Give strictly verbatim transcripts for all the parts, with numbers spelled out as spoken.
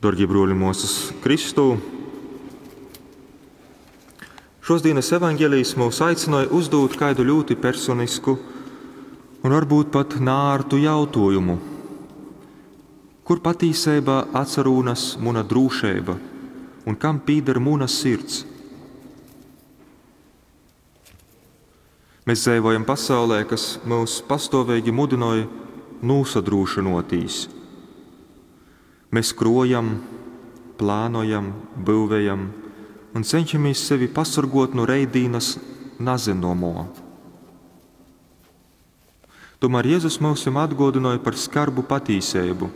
Darbie bruoli, muosas Kristū, šosdienas evaņģēlijs mūs aicināja uzdot kādu ļoti personisku un varbūt pat nārtu jautājumu. Kur patiesībā atsarūnas muna drūšība un kam pīder muna sirds? Mēs dzīvojam pasaulē, kas mūs pastāvīgi mudināja nosadrūšinotīs. Mēs krojam, plānojam, būvējam un cenšamies sevi pasargot no reidīnas nazinomo. Tomēr Jēzus mums atgādināja par skarbu patīsību.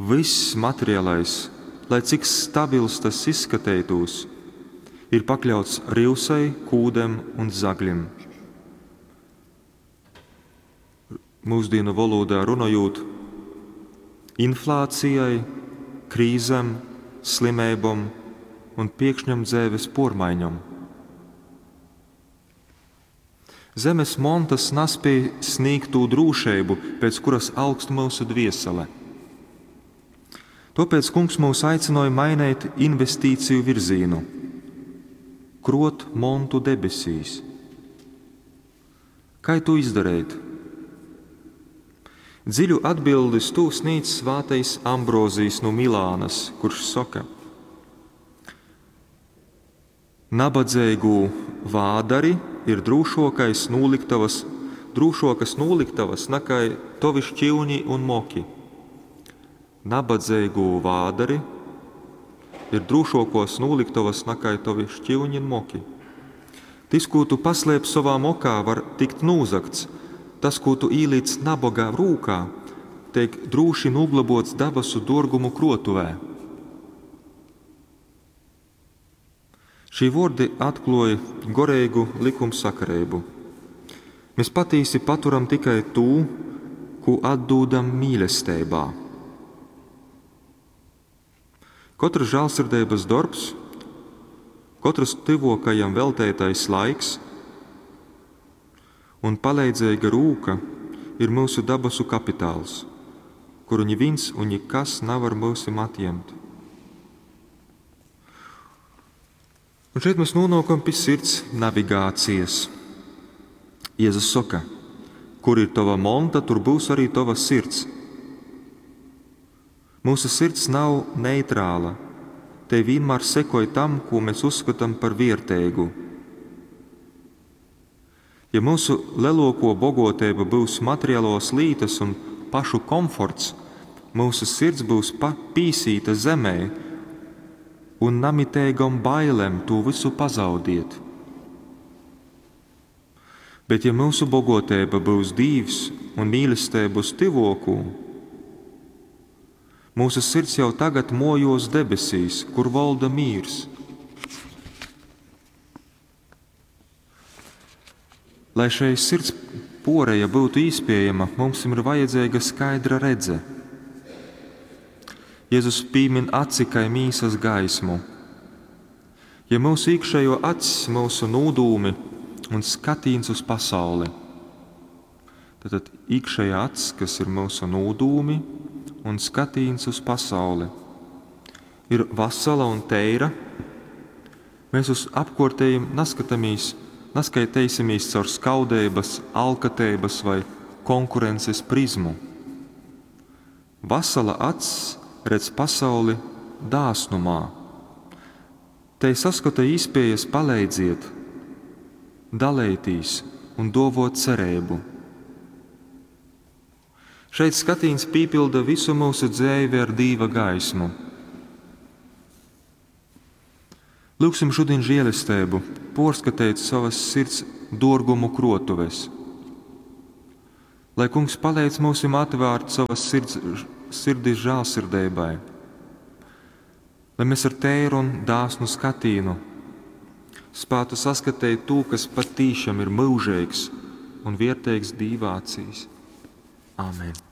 Viss materiālais, lai cik stabils tas izskatītos, ir pakļauts rīvsai, kūdem un zagļiem. Mūsdienu valodā runājot, inflācijai, krīzēm, slimībām un piekšņam dzēves pormaiņam. Zemes montas naspēj sniegt tū drūšību, pēc kuras augst mūsu dviesele. Tāpēc kungs mūs aicināja mainīt investīciju virzienu, krot montu debesīs. Kā to izdarīt? Dziļu atbildi uz to sniedz svētais Ambrozijs no Milānas, kurš saka: Nabadzīgu vādari ir drūšokais noliktavas, drūšokas noliktavas nakai tovi šķīvņi un moki. Nabadzīgu vādari ir drūšokos noliktavas nakai tovi šķīvņi un moki. Tis, ko tu paslēp savā mokā, var tikt nūzakts. Tas, ko tu īlīc nabagā rūkā, tiek drūši noglabots dabasu dorgumu krotuvē. Šī vordi atklāja gorēgu likumsakarību. Mēs patīsi paturam tikai tū, ko atdūdam mīlestībā. Katrs žēlsirdības darbs, katrs tuvākajam veltētais laiks un palīdzīga rūka ir mūsu dabasu kapitāls, kuru neviens un nekas nevar mūsim atņemt. Un šeit mēs nonākam pie sirds navigācijas. Jēzus saka, kur ir tava monta, tur būs arī tava sirds. Mūsu sirds nav neitrāla. Te vienmēr sekoja tam, ko mēs uzskatām par vērtīgu. Ja mūsu lielāko bogotība būs materiālos lītas un pašu komforts, mūsu sirds būs pīsīta zemē un namitēgam bailēm to visu pazaudiet. Bet ja mūsu bogotība būs Dīvs un mīlestība uz tivokū, mūsu sirds jau tagad mojos debesīs, kur valda mīrs. Lai šai sirds poreja būtu īspējama, mums ir vajadzīga skaidra redze. Jēzus piemin aci kā mīsas gaismu. Ja mūsu iekšējo acis, mūsu nūdūmi un skatīns uz pasauli, tad, tad iekšējā acis, kas ir mūsu nūdūmi un skatīns uz pasauli, ir vasala un teira, mēs uz apkortējiem neskatāmies, neskaitēsimies caur skaudības, alkatības vai konkurences prizmu. Vasala acs redz pasauli dāsnumā. Te saskata īspējas palīdziet, dalētīs un dovot cerību. Šeit skatīns pīpilda visu mūsu dzēvi ar dīva gaismu. Lūksim šodien žēlestību, porskatīt savas sirds dorgumu krotuves. Lai kungs palīdz mums atvērt savas sirds, sirdis žēlsirdībai, lai mēs ar tēru un dāsnu skatīnu spētu saskatīt to, kas patīšām ir mūžīgs un vērtīgs Dīva acīs. Āmen!